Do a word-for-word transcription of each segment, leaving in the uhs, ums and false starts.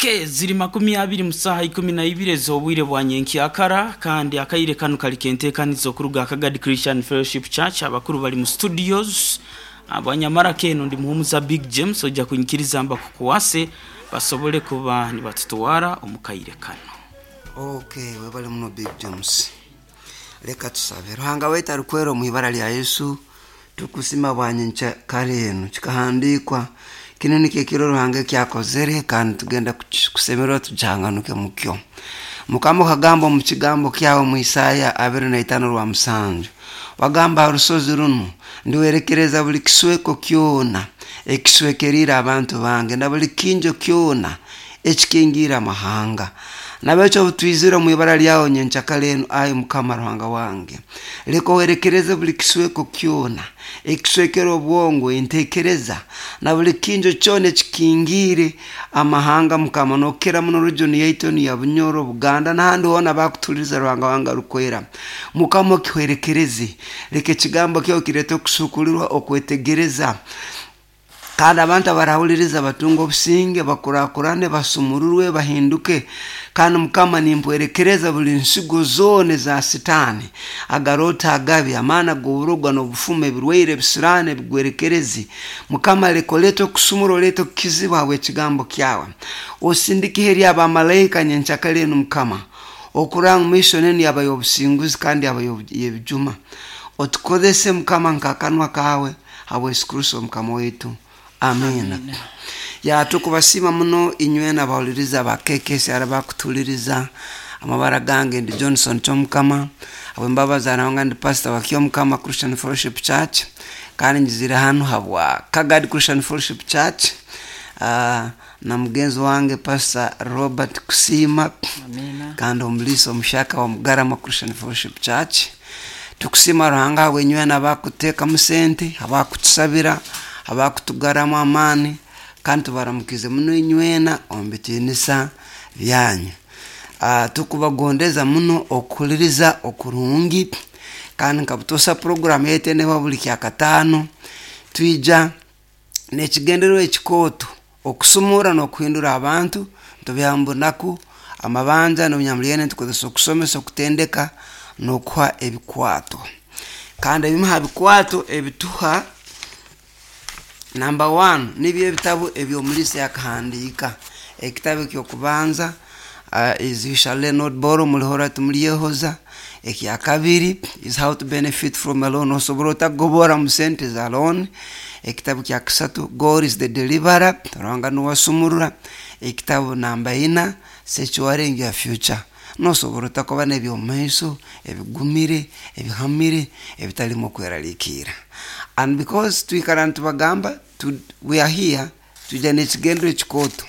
Okay, ziri makumi abiri mu saaha ikumi na ibiri ez'obwire bwa nyenkyakara, kandi akaire kanu kali kenteekaniza okuruga Kagadi Christian Fellowship Church. Abakuru bali mu studios abanyamara keno ndi muhumuza Big James, ojja kunyikiriza mbakukwase basobole kuba nibatutwara omu kaire kano. Okay, webale muno Big James. Leka tusabe. Ruhanga waitu arikwera, omu ibara lya Yesu tukusima bwanyenkya kare eno. Kikahandikwa kino nikyo ekiro Ruhanga ekyakozere, kandi tugenda kusemererwa tujanganuke mukyo. Mukama, okagamba omu kigambo kyawe mu Isaya abiri na itaano rwa musanju, wagamba, "Ha rusozi runu ndiwerekereza buli kisweko kyona ekiswekerire abantu bange na buli kinjo kyona ekikingiire amahanga." Nabekyo obutwizire omu ibara lyawe nyenkyakara eno, ayi Mukama Ruhanga wange, leka owerekereze buli kisweko kyona ekiswekere obwongo, entekereza, na buli kinjo kyona ekikingiire amahanga. Mukama, nokira muno region yaitu enu ya Bunyoro, Buganda n'ahandi hoona bakutuhuliriza. Ruhanga wange arukwera, Mukama, okihwerekereze. Leka ekigambo kyawe kirete okusukulirwa, okwetegereza, kandi abantu abarahuliriza batunga obusinge, bakurakurane, basumururwe, bahinduke. Kandi Mukama, nimpwerekereza buli nsigo zoona eza Sitaani, agarota agabi, amaani ag'oburogwa n'obufumu, ebirwaire, ebisiraani, ebigwerekerezi. Mukama, leka olete okusumura, olete okukizibwa habw'ekigambo kyawe. Osindike eri abamalaika nyenkyakara enu, Mukama, okuranga mission enu yaba y'obusinguzi kandi yaba y'ebijuma. Otukozese, Mukama, nk'akanwa kawe, habwa Yesu Kristo Mukama waitu, amina. Ya, tukubasiima muno inywena abahuliriza ba K K S R bakutuhuliriza. Amabara gange ndi Johnson Kyomukama, habwembabazi arahanga ndi pastor wa Kyomukama Christian Fellowship Church, kandi njizire hanu habwa Kagadi Christian Fellowship Church uh, na mugenzi wange Pastor Robert Kusiima. Amina. Kandi omulisa omushaka wa Mugarama Christian Fellowship Church. Tukusima Ruhanga habwenywena abakuteekamu sente, abakutusabira, abakutugaramu amaani, kandi tubaramukize muno inywena omu bitiinisa byanyu. uh, tukubagondeza muno okuhuliriza okurungi, kandi nkabutosa program yaitu eneba buli kyakataano, twija n'ekigendererwa ekikooto okusumura n'okuhindura abantu ntubyaha mu bunaku, amabanja n'obunyamulyene. Tukozesa okusomesa, okutendeka n'okuha ebikwato. Kandi ebimu ha bikwato ebituha, number one, nibyo ebitabu ebyomulisa yakahandiika. Ekitabu ekyokubanza uh, is "You Shall Lend Not Borrow", mulihora timulyehoza. Ekyakabiri is "How to Benefit from a Loan", osobola otagobora mu sente za loan. Ekitabu kya kasatu, "God Is the Deliverer", Ruhanga nuwasumurura. Ekitabu namba ina, "Securing Your Future", nosobola otakuba n'ebyomumaiso ebigumire, ebihamire, ebitalimu okweraliikirra. And because twikara nitubagamba tu, we are here, twija n'ekigendero ekikooto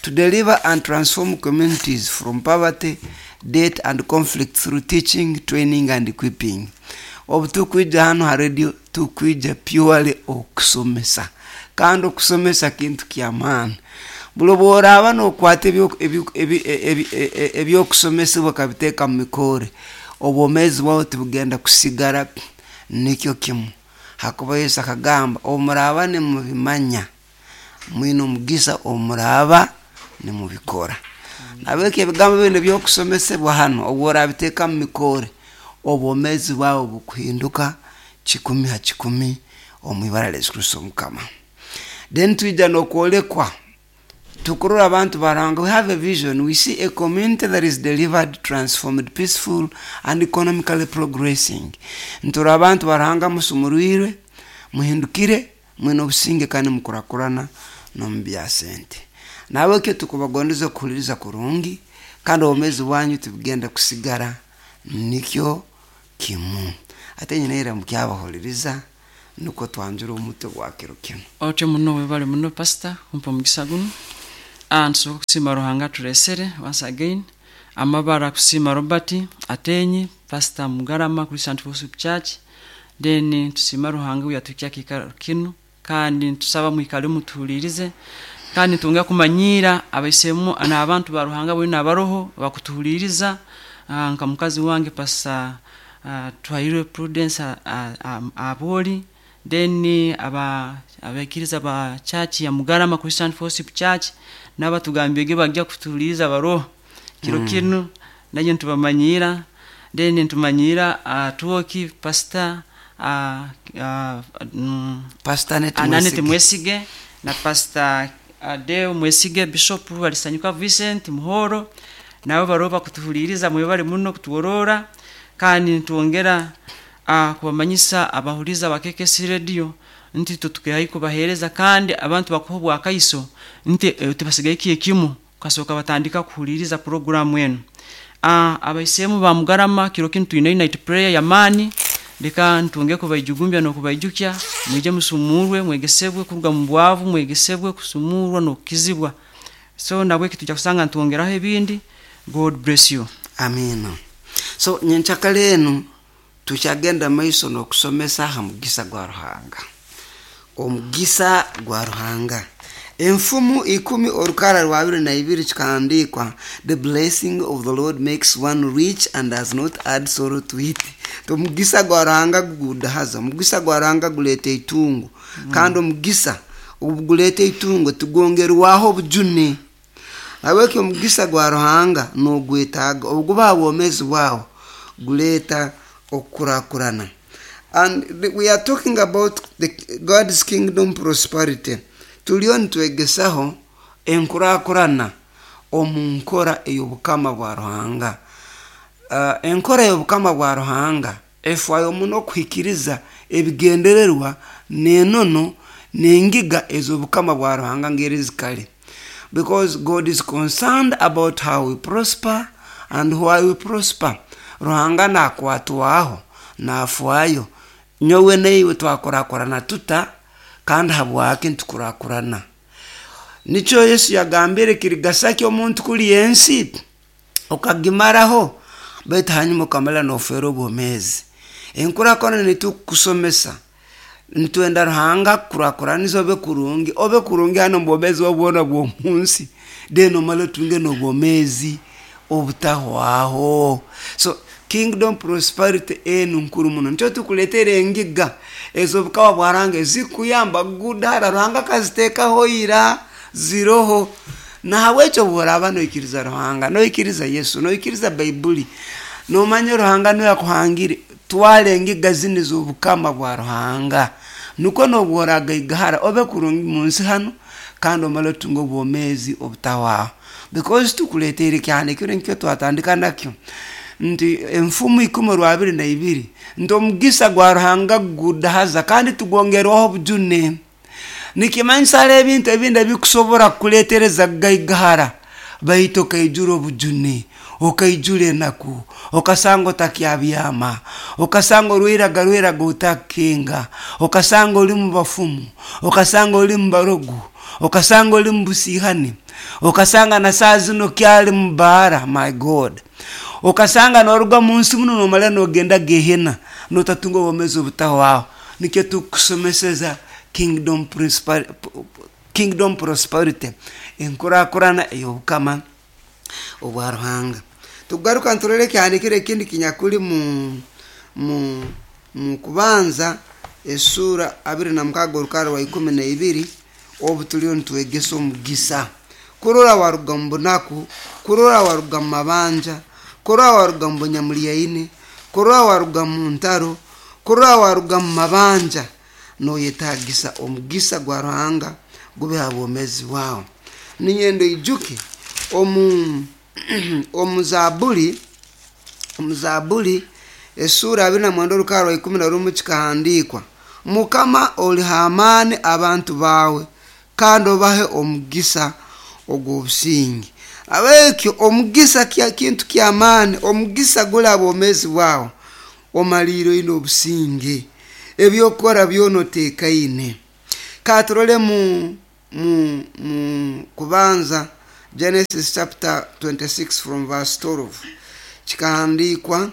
to deliver and transform communities from poverty, debt and conflict through teaching, training and equipping. Obu tukwija hano ha radio, tukwija purely okusomesa, kandi okusomesa kintu kyamaani. Buli obworaaba nokwata ebyokusomesebwa okabiteeka mu mikore, obwomeezi bwawe tibugenda kusigara nikyo kimu, hakuba Yesu akagamba, "Obu muraaba nimubimanya, mwine omugisa obu muraaba nimubikora." Nabwekyo ebigambo binu ebyokusomesebwa hano, obu orabiteeka mu mikore, obwomeezi bwawe bukuhinduka kikumi ha kikumi omu ibara lya Yesu Kristo Omukama. Then twija n'okwolekwa, tukurora abantu baranga. We have a vision. We see a community that is delivered, transformed, peaceful and economically progressing. Nturora abantu baranga musumurwirwe, muhindukire, mwine obusinge kandi mukurakurana n'omu bya sente. Nabwekyo tukubagondeza okuhuliriza kurungi, kandi obwomeezi bwanyu tibugenda kusigara nikyo kimu. Ate nyina era mukyabahuliriza, nukwo twanjura omutwe gwa kiro kinu. Otyo muno, webale muno pastor kumpa omugisa guno. Ah, ntusobola kusiima Ruhanga turesere once again. Amabara kusiima Robert Atenyi, Pastor Mugarama Christian Fellowship Church. Then tusiima Ruhanga uyatukya kiikaro kinu, kandi ntusaba mwikale mutuhulirize, kandi tunga kumanyiira abaisemu n'abantu ba Ruhanga boona abaroho bakutuhuliriza, ah, nka mukazi wange Pastor uh, Twahirwe Prudence Aboli, then aba abaikiriza ba church ya Mugarama Christian Fellowship Church. N'abatugambege bajja kutuliza baroho kiro mm. kinu naye ntubamanyira, then ntumanyira uh, tuoki pastor uh, uh, mm, Pastor Anete Ananete Mwesige. Mwesige na Pastor Adeo Mwesige, Bishop Alisanyuka Vincent Muhoro, nabo baroba kutuhuliriza, mwebale muno kutuworora. Kandi nitwongera uh, kubamanyisa abahuliza ba K K C Radio nti tutukehayi kubahereza, kandi abantu bakuha obwakaiso nti eh, tibasigaye kiye kimu kasoka batandika kuhuliriza programu eno. uh, abaisemu ba Mugarama, kiro kinu twine night prayer ya mani. Leka ntunge kubaijugumbya nokubaijukya, mwije musumurwe, mwegesebwe kuruga mu bwavu, mwegesebwe kusumurwa nokukizibwa. So nabwe kitujja kusanga ntwongeraho ebindi. God bless you. Amina. So nyenkyakala enu tukyagenda maiso n'okusomesa aha mugisa gwa Ruhanga, omugisa gwa Ruhanga. Enfumu ikumi orukara rwa abiri na ibiri kikahandikwa, "The blessing of the Lord makes one rich and does not add sorrow to it." Omugisa gwa Ruhanga gugudahaza, omugisa gwa Ruhanga guleeta itungo mm. Kandi omugisa obu guleeta itungo tugongerwaho obujune. Habwekyo omugisa gwa Ruhanga nogwetaaga, obuguba bwomezi bwawe guleeta okukurakurana. And we are talking about the God's kingdom prosperity. Tuliyo nitwegesaho enkurakurana omu nkora ey'obukama bwa Ruhanga. uh, enkora y'obukama bwa Ruhanga efwayo muno okuhikiriza ebigendererwa n'enono n'engiga ez'obukama bwa Ruhanga ngeri zikale, because God is concerned about how we prosper and why we prosper. Ruhanga nakwatwaho, nafwayo nyowe neiwe twakurakurana tuta kandi habwaki ntukurakurana. Nikyo Yesu yagambire, kirigasaki omuntu kuli ensi okagimaraho, baitu hanyuma okamala nofera obwomezi. Enkurakurana nitukusomesa, nitwenda Ruhanga kurakuraniza obe kurungi, obe kurungi hano mubwomezi obwona bw'omunsi, then omale otunge n'obwomezi obutahwaho. So kingdom prosperity enu nkuru muno. Nikyo tukuletera engiga ez'obukama bwa Ruhanga ezikuyamba kugudara. Ruhanga akaziteekaho ira, ziroho. Nahabwekyo bworaba noikiriza Ruhanga, noikiriza Yesu, noikiriza Baibuli, nomanya Ruhanga niwe yakuhangire, twara engiga zini z'obukama bwa Ruhanga, nukwo nobworagaigahara obe kurungi munsi hano kandi omale otunge obwomezi obutahwaho. Because tukuleteire kyahandikire nkyo twatandika nakyo nti Enfumu ikumi rwa abiri na ibiri nti omugisa gwa Ruhanga gudahaza kandi tugongerwaho obujune. Nikimanyisa hariho ebintu ebindi ebikusobora kukuletereza kugaigahara, baitu okaijura obujune, okaijura enaku, okasanga otakyabyama, okasanga orwiraga rwiraga otakukenga, okasanga oli mu bafumu, okasanga oli mu barogu, okasanga oli mu busihani, okasanga na saa zino kyali mu baara. My God, okasanga noruga munsi muno nomala nogenda gehena notatunga obwomezi obutahwaho. Nikyo tukusomeseza kingdom prosperity, kingdom prosperity, enkurakurana ey'obukama obwa Ruhanga. Tugaruka nturore ekyahandikire ekindi kinyakuli mu mu mu Kubanza esura abiri na mukaaga orukara rwa ikumi na ibiri, obu tuliyo nitwegesa omugisa. Kurora waruga mu bunaku, kurora waruga mu mabanja, kurora waruga mu bunyamulyaine, kurora waruga mu ntaro, kurora waruga mu mabanja, noyetagisa omugisa gwa Ruhanga gube ha bwomezi bwawe. Ninyenda ijuke omu omu Zabuli, omu Zabuli esura abiri na mwenda orukara rwa ikumi na rumu kikahandikwa, "Mukama oliha amaani abantu bawe kandi obahe omugisa ogw'obusingi." Abekyo omugisa kya kintu kyamaani. Omugisa guli abwomezi bwawe, omaliire oine obusinge, ebyokukora byona oteekaine. Katurole mu mu mu Kubanza, Genesis chapter twenty-six from verse twelve, kikahandikwa,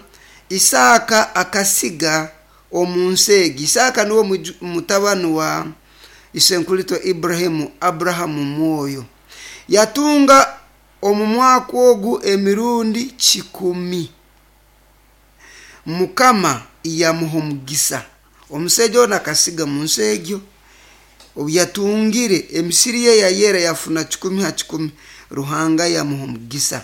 Isaaka akasiga omu nsi egi. Isaaka niwe muju- mutabani wa isenkulito Iburahimu, Aburahamu mwoyo. Yatunga omu mwaka ogu emirundi kikumi, Mukama yamuha omugisa. Omusajja ono akasiga mu nsi egyo. Obu yatungire emisiri ye yayera, yafuna kikumi ha kikumi. Ruhanga yamuha omugisa,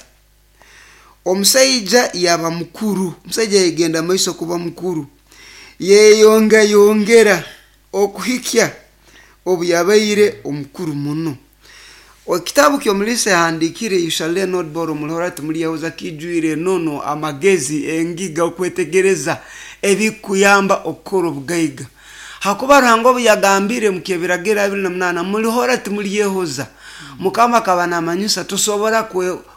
omusaija yaba mukuru. Omusaija yagenda maiso kuba mukuru, yeyongayongera okuhikya obu yabaire omukuru muno. Ekitabu kyomulisa yahandikire, "You Shall Not Borrow", mulihora timulyehoza, kijwire enono, amagezi, engiga, okwetegereza ebikuyamba okukora obugaiga. Hakuba Ruhanga obu yagambire mukyebiragiro abiri na munaana, mulihora timulyehoza, Mukama akaba namanyisa tosobora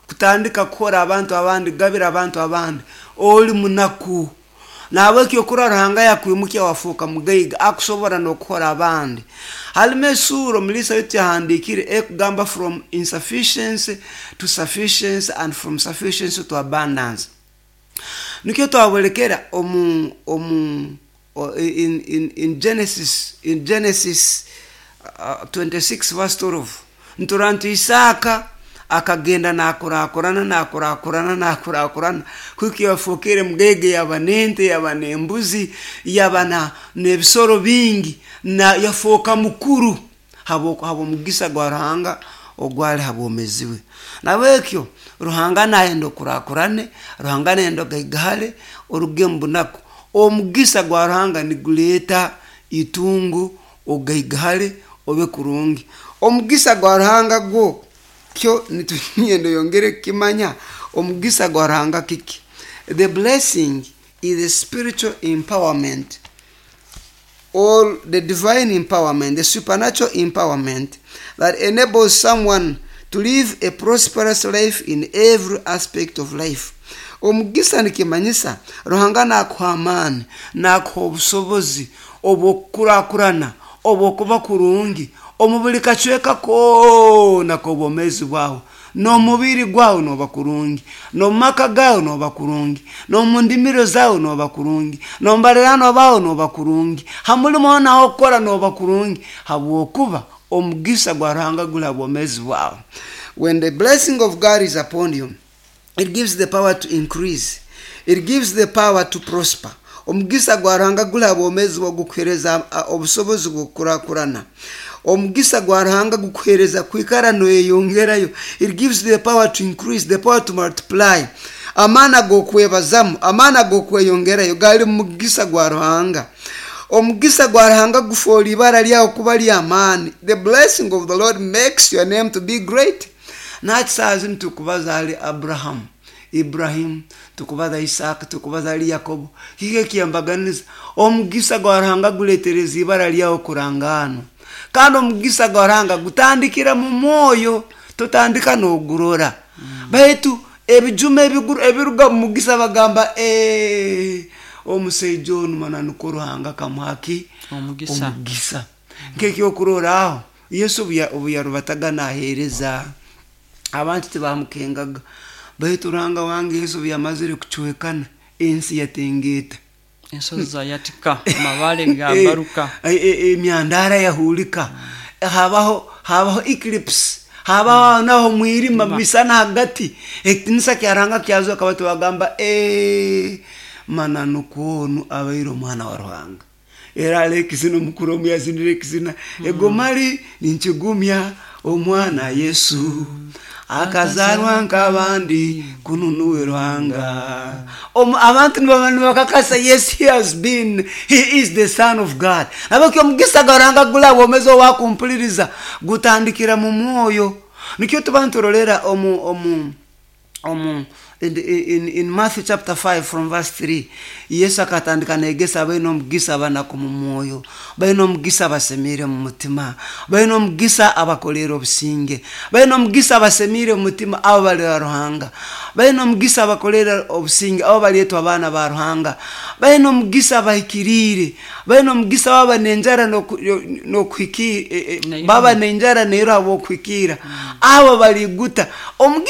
kutandika kuhora abantu abandi, kugabira abantu abandi oli munaku. Nahabwekyo okura Ruhanga yakwimukya wafuuka mugaiga, akusobora n'okuhora abandi. Halimu esuura omulisa waitu yahandikire ekugamba "From Insufficiency to Sufficiency and From Sufficiency to Abundance". Nikyo twabulekera omu omu in, in, in Genesis in Genesis uh, twenty-six verse twelve, ntura nti Isaaka akagenda nakurakurana, nakurakurana, nakurakurana kuko yafukire mugege, yaba nente, yaba nembuzi, yaba na nebisoro bingi, na yafoka mukuru habo habwomugisa gwa Ruhanga ogwali habwomezi bwe. Nabwekyo Ruhanga nayenda okurakurane, Ruhanga nayenda ogaigahale, oruge mu bunaku. Omugisa gwa Ruhanga niguleeta itungo, ogaigahale, obe kurungi. Omugisa gwa Ruhanga gwo kyo nitunyenda yongere kukimanya. Omugisa gwa Ruhanga kiki? The blessing is the spiritual empowerment or the divine empowerment, the supernatural empowerment that enables someone to live a prosperous life in every aspect of life. Omugisa nikimanyisa Ruhanga nakuha amaani, nakuha obusobozi obwokukurakurana, obwokuba kurungi omu buli kacweka koona k'obwomeezi bwawe. N'omubiri gwawe noba kurungi, n'omumaka gawe noba kurungi, n'omu ndimiro zawe noba kurungi, n'omubalirano bawe noba kurungi, ha mulimo hoona okukora noba kurungi, habwokuba omugisa gwa Ruhanga guli ha bwomeezi bwawe. When the blessing of God is upon you, it gives the power to increase, it gives the power to prosper. Omugisa gwa Ruhanga guli ha bwomeezi bwawe gukuhereza obusobozi bw'okukurakurana. Omugisa gwa Ruhanga gukuhereza kwikara noyeyongerayo. It gives the power to increase, the power to multiply. Amaani ag'okwebazamu, amaani ag'okweyongerayo gali mu mugisa gwa Ruhanga. Omugisa gwa Ruhanga gufoora ibara lyawe kuba ly'amaani. The blessing of the Lord makes your name to be great. Nakisaaha zinu tukubaza hali Abrahamu, Iburahimu, tukubaza Isaaka, tukubaza hali Yakobo. Kiki ekyembaganiza? Omugisa gwa Ruhanga guletereza ibara lyawe kurangaanwa. Kandi omugisa gwa Ruhanga gutandikira mu mwoyo, totandika n'ogurora, baitu ebijuma ebiruga mu mugisa bagamba, "Eh, omusaija onu mananu Ruhanga akamuhaki omugisa." Omugisa nk'ekyokuroraaho, Yesu obu yarubataga naheereza, abantu tibamukengaga, baitu Ruhanga wange, Yesu obu yamazire kucwekana, ensi yatengeeta. Ensozi zayatika, amabale gabaruka. Emyandara yahulika, habaho habaho eclipse, habaho naho mwirima misana hagati, ekitinisa kya Ruhanga kyazoka. Batu bagamba, "Eh, mananu kwonu abaire omwana wa Ruhanga." Era ali ekizina omukuru omu yazinire ekizina egomali, "Ninkigumya omwana Yesu akazarwa nk'abandi, kununuwe Ruhanga." Abantu nibakakasa, yes, he has been he is the Son of God. Nabakyo omugisa gwa Ruhanga gula bwomezi owakumpuliriza gutandikira mu mwoyo. Nikyo tuba nturolera omu omu omu in, in, in Matthew chapter five from verse three, Yesu akatandika negesa, baina omugisa abanaku mu mwoyo, baina omugisa abasemire mu mutima, baina omugisa abakolera obusinge, baina omugisa abasemire mu mutima, abo balira Ruhanga, baina omugisa abakolera obusinge, abo balyetwa abaana ba Ruhanga, baina omugisa abahikiriire, baina omugisa baba nenjara nokuhikira, baba nenjara neero habwokuhikira, abo baliguta. Omugisa